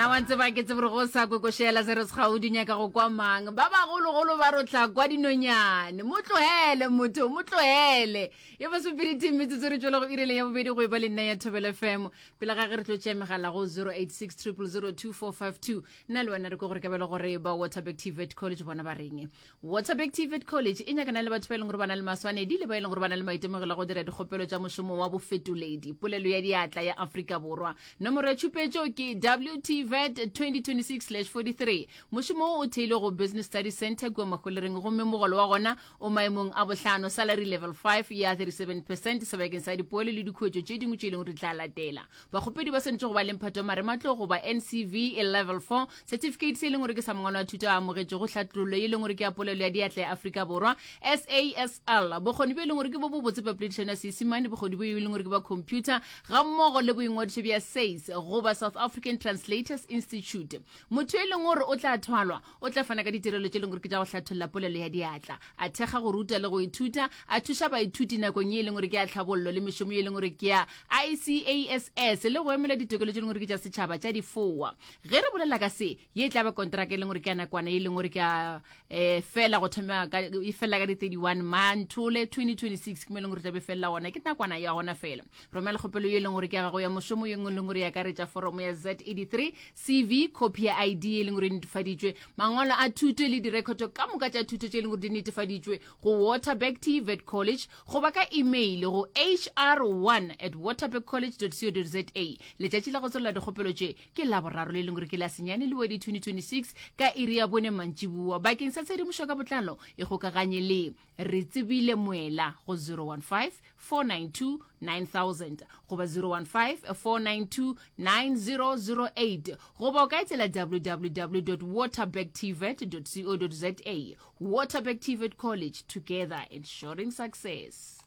Nna wa tseba ke tsebe gore go sa kokošela se re segaudi nyaka go kwa mang. Ba bagologolo ba rotla kwa dinonyane. Mo tlohele motho, mo tlohele. E ba sepedi metsotso re tšwela go ireleng ya bobedi go e ba le nna ya Thobela FM. Pele ga ge re tlo tšea megala go 086 000 2452. Nna le wena re ko gore ka bele gore ba Waterberg TVET College bona ba reng. Waterberg TVET College e nyakana le batho ba e leng gore ba na le maswanedi le ba e leng gore ba na le maitemogelo a go dira dikgopelo tša mošomo wa bofetoledi polelo ya diatla ya Afrika Borwa. Nomoro ya tšhupetšo ke WTVET 2026/43. Mošomo wo o theilwe go Business Studies Centre kua Mahwelereng gomme mogolo wa gona o maemong a bohlano, salary level 5 ya 37 percent sebakeng sa dipoelo le dikhuetšo tše dingwe tše e leng gore di tla latela. Bakgopedi ba swanetše go ba le mphato wa marematlou goba NCV level 4 certificate se e leng gore ke sa mangwalo a thuto a amogetšego tlhatlollo ye e leng gore ke ya polelo ya diatla ya Afrika Borwa SASL bokgoni bjo e leng gore ke bo bobotse bja poledišano ya Seisemane bokgoni bjo e leng gore ke ba computer gammogo le boingwadišo bja SACE goba South African Translators Institute. Motho e leng gore o tla thwalwa o tla fana ka ditirelo tše e leng gore ke tša go hlatholla polelo ya diatla, a thekga go ruta le go ithuta, a thuša baithuti nakong ye e leng gore ke ya tlhabollo le mešomo ye e leng gore ke ya ICASS le go emela ditokelo tše e leng gore ke tša setšhaba tša difoa. Ge re bolela ka se, ye e tla ba kontraka e leng gore ke ya nakwana ye e leng gore ke ya um fela go thoma ka e fela ka di 31 Manthole 2026 ke mo e leng gore tla be felela gona, ke nakwana ya gona fela. Romela kgopelo ye e leng gore ke ya gago ya mošomo ye nngwe e leng gore e akaretša foromo ya Z83 CV, khopi ya ID e leng gore e netefaditšwe, mangwalo a thuto le direkhoto ka moka tša thuto tše e leng gore di netefaditšwe go Waterberg TVET College goba ka email go hr1 at waterbergcollege co za. Letšatši la go tswalela dikgopelo tše ke Laboraro le leng gore ke la senyane Lewedi 2026 ka iri ya bone mantšiboa. Bakeng sa tshedimošo ka botlalo ikgokaganye le Re tsebile Moela go 015 492 9000 goba 015 492 9008 goba o ka etela www waterbergtvet co za. Waterberg TVET College, together ensuring success.